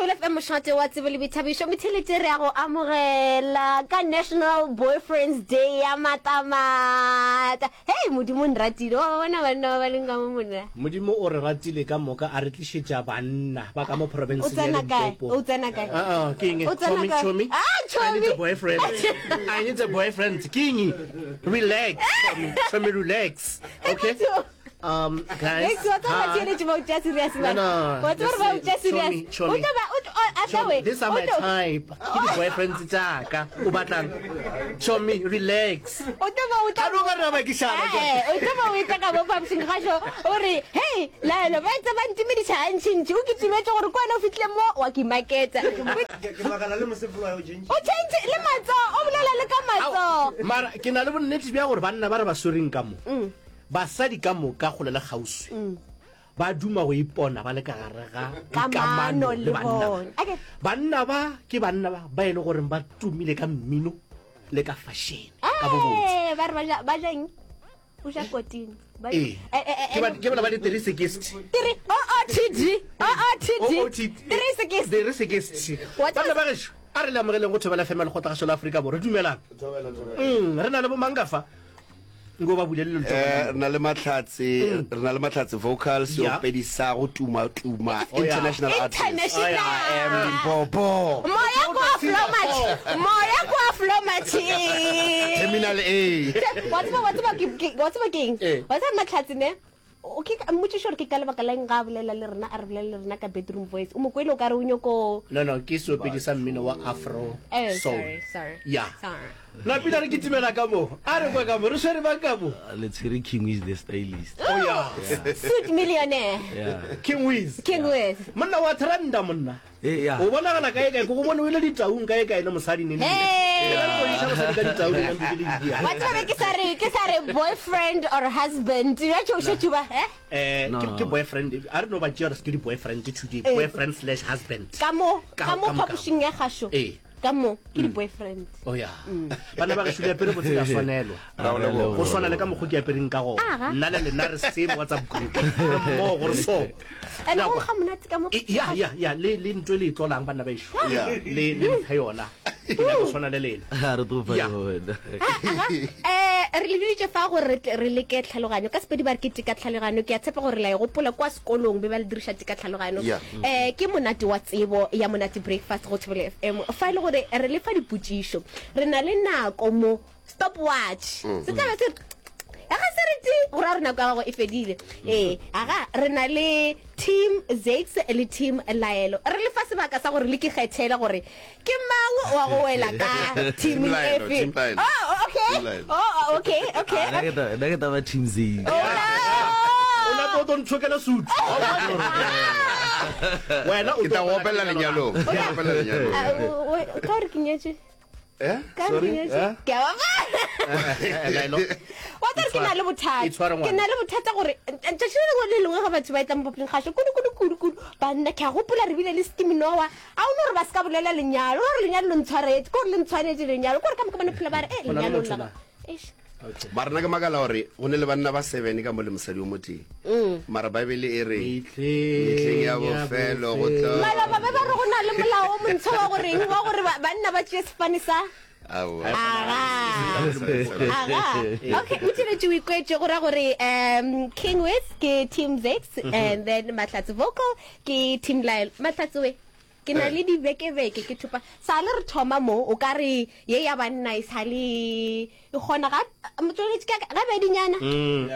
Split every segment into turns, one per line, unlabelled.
Thobela FM mošate wa tsebo le boithabišo metheletše re ya go amogela ka National Boyfriends Day ya matamata. Hei Modimo o nratile wa ba bona banna ba ba leng ka mo monna.
Modimo o re ratile ka moka a re tlišetša banna ba ka mo
O
profenseng ya
tsena kae?
Limpopo.
O tsena kae?
Ah, ah, ke eng?
O tsena
Chomi,
kae?
chomi.
Ah,
I need
chomi.
a boyfriend. I need a boyfriend. Ke eng? Relax, chomi. Chomi, relax. Okay? Um, guys.
Next, wa tseba
hi.
batheeletši ba o tšea serious
No,
man.
no.
Wa tseba gore ba o tšea serious.
Chomi, chomi.
O tlo ba o tlo a tla
Chomi,
we.
these are
O
my
tlo-
type. Ke di-boyfriends tša ka. O batlang? Chomi, relax.
O tlo ba o tla
A no ka re ba ke šala.
Eh, o tlo ba o etla ka mo phapošing gašo o re hei laelo ba etsa ba ntimediša gantšintši o kitimetše gore ke wena o fihlile mo wa ke maketsa
Ke makala le mosepelo wa o change.
o change le matsogo o bolela le ka matsogo
Mara ke na le bonnete bja gore banna ba re ba swereng ka mo. Basadi ka moka kgole le kgauswi ba duma go ipona ba le ka gare ga dikamano le banna ba. Banna ba ke banna ba ba e le goreng ba tumile ka mmino le ka fashene ka bobotse.
Ba re ba ja ba ja eng? O ja kotini. Ba
Ee. Ke ba ke bana ba di 360.
Three O O T D O O T D 360.
360.
Wa tseba-
Banna ba gešo a re le amogeleng go Thobela FM ya Lekgotlagašo la Afrika Borwa. Dumelang. Mm, re na le bomang ka fa? Nko ba bulele letsogo.
Eh, re na le Mahlatse, re na le Mahlatse vocals,
Yeah.
seopedi sa go tuma tuma,
Oh, yeah.
international artist.
International.
I am Limpopo.
Moya kwa Flomatch. Moya kwa Flomatch.
Terminal A.
Wa tseba wa tseba ke ke- wa tseba ke eng?
Eh.
Wa tseba Mahlatse ne? O ke mmotšiše gore ke ka lebaka la eng ga a bolela le rena a re bolela le rena ka bedroom voice. O mo kwele o ka re o nyoko
No no, ke seopedi sa mmino wa afro
Eh,
soul.
sorry, sorry.
Yeah.
Sorry.
Napile re kitimela ka mo. A re kwe ka mo. Re swere bang ka mo?
Le tshwere King Wiz the stylist.
Oh yeah.
Suit millionaire.
Yeah.
King Wiz.
King Wiz.
Monna wa trenda monna.
Eh, yeah.
O bonagala kae kae ke go bone o ile ditaung kae kae le mosadi neng.
Hey.
Ke go iša mosadi ka ditaung neng ke le di.
Wa tseba be ke sa re ke sa re boyfriend or husband. Ya tšo šetše ba eh?
Eh,
No,
ke
no.
ke boyfriend. A re no ba tšea gore ke di boyfriend today.
Eh.
Boyfriend slash husband.
Ka mo
Ka-
ka mo
ka mo- ka mo.
phapošing ya gašo.
Eh.
Ka mo ke di boyfriend.
Oh yeah. Bana ba gešo di apere botse ka swanelwa.
Ra go leboga.
Go swana le ka mokgo ke apereng ka gona.
Aga.
Nna le lena re same WhatsApp group. Re mmogo re so.
And
Ya
go
kwa.
ga monate ka mo.
E, ya ya ya le le ntwe le e tlolang banna ba ešo.
Yeah.
Le le mphe yona. Ke nyaka go swana le lena.
A re tlo fa
Yeah.
yona.
Aga, eh re le biditše fa gore re tle re leke tlhaloganyo ka Sepedi ba re ke teka tlhaloganyo ke a tshepa gore la e gopola kwa sekolong be ba le diriša teka tlhaloganyo
Yeah.
eh ke monate wa tsebo ya monate breakfast go Thobela FM fa e le gore re le fa dipotšišo re na le nako mo stop watch se tla be se re aga se re ti go ra gore nako ya gago e fedile ee aga re na le team Zakes le team Laelo re le fa sebaka sa gore le ke kgethele gore ke mang wa go wela ka team
Team Laelo,
efe
Team Laelo.
oh okay
Team Laelo.
oh okay okay
Nna ke ta- nna ke taba team Zakes.
O na o tlo ntshokela suit. Wena o
Ke tla go opela lenyalong. Ke tla go opela lenyalong.
Ah, o- o- ka gore ke nyetše
Eh?
Ka gore
Sorry?
ke nyetše
Eh?
ke a bapala
Laelo.
wa tsare ke na le bothata
Itshware ngwana.
ke na le bothata gore tšatši le lengwe le lengwe ga batho ba etla mo papaleng gašo kudu kudu kudu kudu banna ke a gopola re bile le skiminoa a o no gore ba se ka bolela lenyalo gore lenyalo le ntshwaretse ke gore le ntshwanetse lenyalo ke gore ka moka ba no phela ba re e
Go na le
lenyalo
motho
la
na?
Eish.
Okay.
Mara nna ke makala gore go ne le banna ba seven ka mo le mosadi o motee. Mara Bible e re mehleng ya bofelo go tlo
maloba be ba re go na le molao o montsho wa goreng wa gore ba- banna ba tšee sefane sa
Aowa.
aga aga okay o tšeletše o ikwetše go ra gore um king wes ke team zex and then mahlatse vocal ke team lyle mahlatse we Ke na le dibekebeke ke thopa. Sa le re thoma mo, o ka re ye ya banna e sa le e kgona ga motsweletši ka ga bedinyana.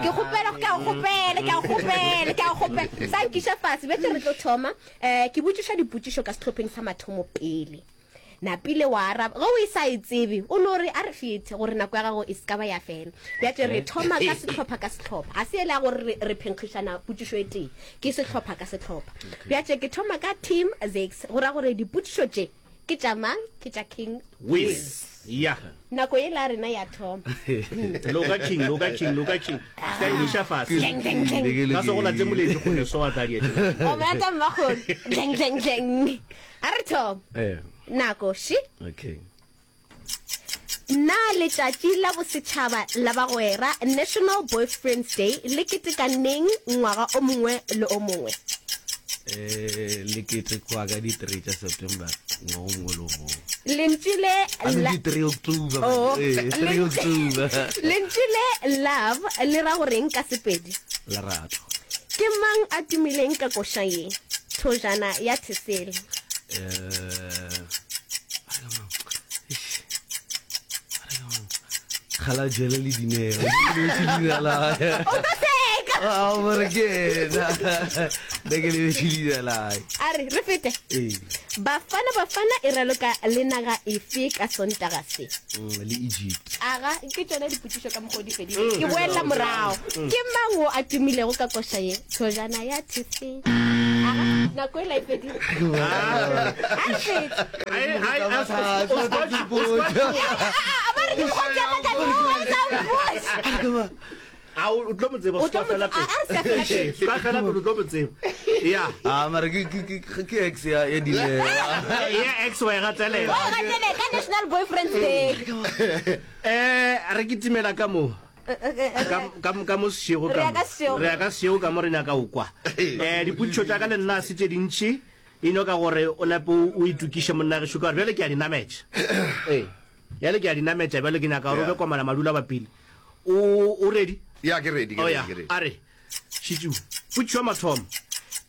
Ke kgopela ke a kgopela ke a kgopela ke a kgopela sa nkiša fase betse re tlo thoma. Eh ke botšiša dipotšišo ka sehlopheng sa mathomo pele. Napile wa araba ge o e sa e tsebe o no re a re fete gore nako ya gago e se ka ba ya fela. Bjatše re thoma ka sehlopha ka sehlopha ga se ele ya gore re, re phenkgišana potšišo e tee ke sehlopha ka sehlopha. Bjatše ke thoma ka team Zakes go ra gore dipotšišo tše ke tša mang ke tša King
Wiz. Ya.
Nako yela ya rena ya thoma.
Loka King, loka King, loka King. Se ka emiša fase.
Dleng, dleng, dleng.
Ka se go late moletši kgole so wa tla dietša.
O mata mmakgolo. Dleng, dleng, dleng. A re thoma.
Eh.
Nako še.
Okay.
Na Letšatši la Bosetšhaba la Bagwera, National Boyfriends Day, le keteka neng ngwaga o mongwe le o mongwe?
Eh, le ketekwa ka di-three tša September ngwaga o mongwe le o mongwe.
Lentšu le
I mean, di-three October.
Oh.
Eh, three October.
Lentšu le love le ra goreng ka Sepedi?
Lerato.
Ke mang a tumileng ka koša ye? Thojana ya Thesele.
Eh, Kgalajele le Dineo. Ke lebetše leina la hae.
O tlo seka.
Ah, more ke yena. Nna ke lebetše leina la hae.
A re re fete.
Ee.
Bafana Bafana e raloka le naga efe ka Sontaga se?
Le Egypt.
Aga, ke tšona dipotšišo ka mokgwa o di fedile. Ke boelela morago. Ke mang wo a tumilego ka koša ye? Thojana ya Thesele. Aga, nako e la e fedile. A re fete. A ba re ke mokgwa o tšea ka
A o tlo mo tseba,
O tlo
ska
mo-
fela
a- a re ska fela
pele.
pele.
Ska fela pele o tlo mo tseba. Ya.
Ah, mara ke ke ke ke ex ya ya Dineo.
Ya ex wa e gatelela.
O gatele ka National Boyfriends Day.
Eh, re kitimela ka mo. Ka ka ka mo sešego
Re
ka
ya
mo.
ka sešego.
Re ya ka sešego ka mo re nyaka o kwa. Eh, dipotšišo tša ka le nna se tše dintši. E no ka gore o nape o itokiše monna gešo ka gore bjale ke a di nametša. Ee. Bjale ke a di nametša bjale ke nyaka gore o be komana madula bapile. O o ready?
Ya ke ready, ke
Oh
ready,
ya,
ke ready.
a re šitšu. Potšišo ya mathomo.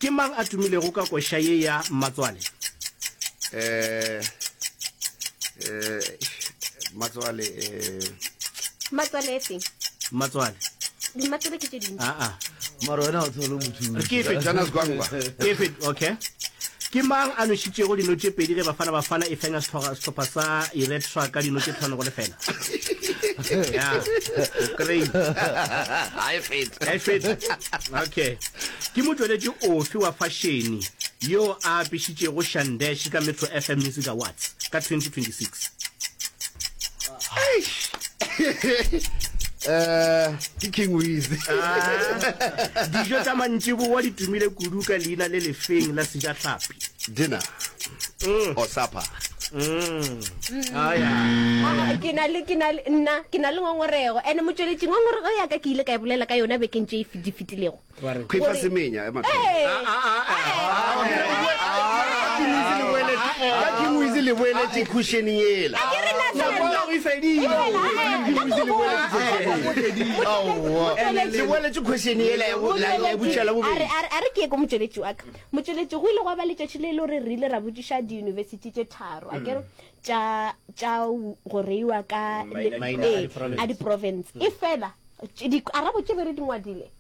Ke mang a tumilego ka koša ye ya Mmatswale?
Eh eh Mmatswale eh
Mmatswale e feng?
Mmatswale.
Mmatswale ke tše dintši.
Ah ah.
Mara wena o tshole motho.
Ke efe?
Jonas Gwangwa.
Ke efe? Okay. Ke mang a nošitšego dino tše pedi ge Bafana Bafana e fenya sehlopha sa Eritrea ka dino tše 5-0? Ya, o kry-ile.
Ga e fete.
Ga e fete. Okay. Ke motšweletši ofe wa fashene yo a apešitšego Shandesh ka Metro FM Music Awards ka 2026?
Eh, ke King Wiz.
Ah, dijo tša mantšiboa di tumile kudu ka leina le lefeng la sejahlapi?
Dinner. Or supper.
Ah, ya.
Ah, ke na le ke na le nna ke na le ngongorego ene motšweletši ngongorego ya ka ke ile ka e bolela ka yona bekeng tše di fetilego
Khwifa semenya ema.
Ee.
Ka King Wiz le boeletše cushion yela.
Ke re na
Nako ya go e fedile.
Aowa. Le boeletše question yela ya bo- la- ya butša la bobedi.
a re ke ye ko motšweletši wa ka motšweletši go ile gwa ba letšatši le e le gore re ile ra botšiša diyunibesithi tše tharo a kere tša tša go reiwa ka le-
Maina a
ee,
di-province.
a di-province e fela Dikarabo tše be re di ngwadile,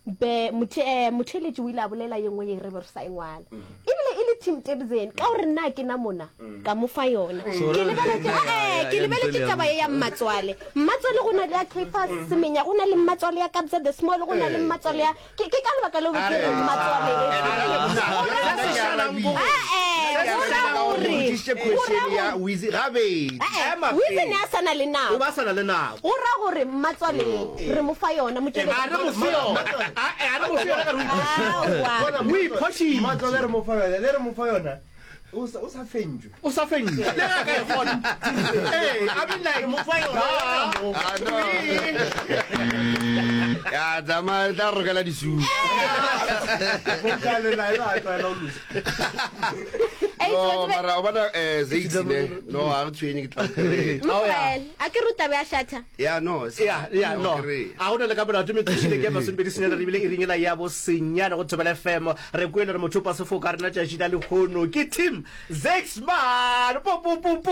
be mothe, eh, motheeletši o ile a bolela ye nngwe ye re be re sa e ngwala. Ebile e le Tim Tebzeni, ka gore nna ke na mona, ka mo fa yona.
So
Ke
re-
lebeletše,
ya-
eh,
ya-
ke
ya
lebeletše
Ntole ya
taba ye ya Mmatswale. Mmatswale go na le ya Caiphus Semenya, go na le Mmatswale ya Kabza De Small, go na le Mmatswale ya, ke, ke ka lebaka leo ke re Mmatswale e. Eh, go ra gore,
Botšišitše
go ra
question ya
gore,
Wizzy gabedi.
eh,
Ema
Wizzy
pele.
ne a sa na le
O
nako.
ba sa na le nako.
Go ra gore mmatswale re mo fa yona motšweletši.
A re mo fe yona. A a re mo fe yona ka re o
Aowa.
O iphošitše.
Mmatswale re mo fa yona, le re mo fa yona o sa o sa fentšwe.
O sa fentšwe. Le ge a ka e kgona. Ee, I mean like mo fa yona.
Ah, no. Ya tsamaya tla rokela disutu.
Vocal la ela a tlwaela go losa.
Ei,
No,
tsebe-
mara o bona eh Zakes ne. No, a re tshwenye ke tla.
Motlwaele. A ke re o taba ya shatha.
Ya no.
Ya, ya, no.
Kry.
A go na le ka molato metsošile ke masomepedi senyane re bile e ringela ya bo senyane go Thobela FM. Re kwele re mothopa sefoka rena tšatši la lehono ke Team Zexman. Po po po po.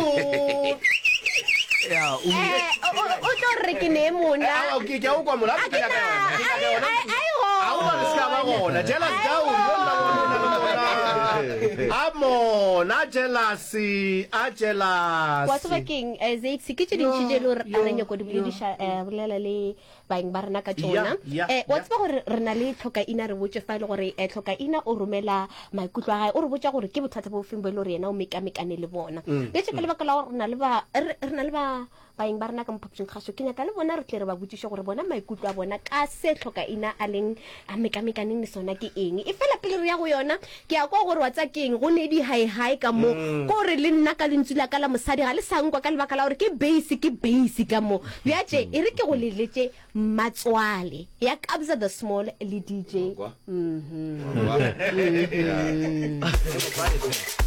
Ya, o
Eh, o- o o tlo re ke ne mona.
Aowa, ke ke a o kwa mona.
A ke na, a e- a e- a e
A o re se ka ba
gona.
gona. Jealous down. Yo nna bona le mona. A mona jealous, a jealous.
Wa tseba keng, eh, Zakes, ke tše dintši tše e le gore re nyako di bolediša, eh, bolela le baeng ba rena ka tšona.
Ya, ya,
Eh, wa
ya.
tseba gore re na le Tlhokaina, re botše fa e le gore eh, Tlhokaina o romela maikutlo a gae, o re botša gore ke bothata bo feng bo e le gore yena o mekamekane le bona. Bjale ka lebaka la gore re na le ba, re, re na le ba baeng ba rena ka mo phapošing kgašo, ke nyaka le bona re tle re ba botšiše gore bona maikutlo a bona ka se Tlhokaina a leng a mekamekaneng le sona ke eng. E fela pele re ya go yona, ke a kwa gore wa tseba ke eng, go ne di-hi-hi ka mo. Ke gore le nna ka lentšu la ka la mosadi ga le sa nkwa ka lebaka la gore ke bass, ke bass ka mo. Bjatše e re ke go leletše Matswale ya Kabza the Small le DJ.
Wa kwa? Wa kwa? Yeah.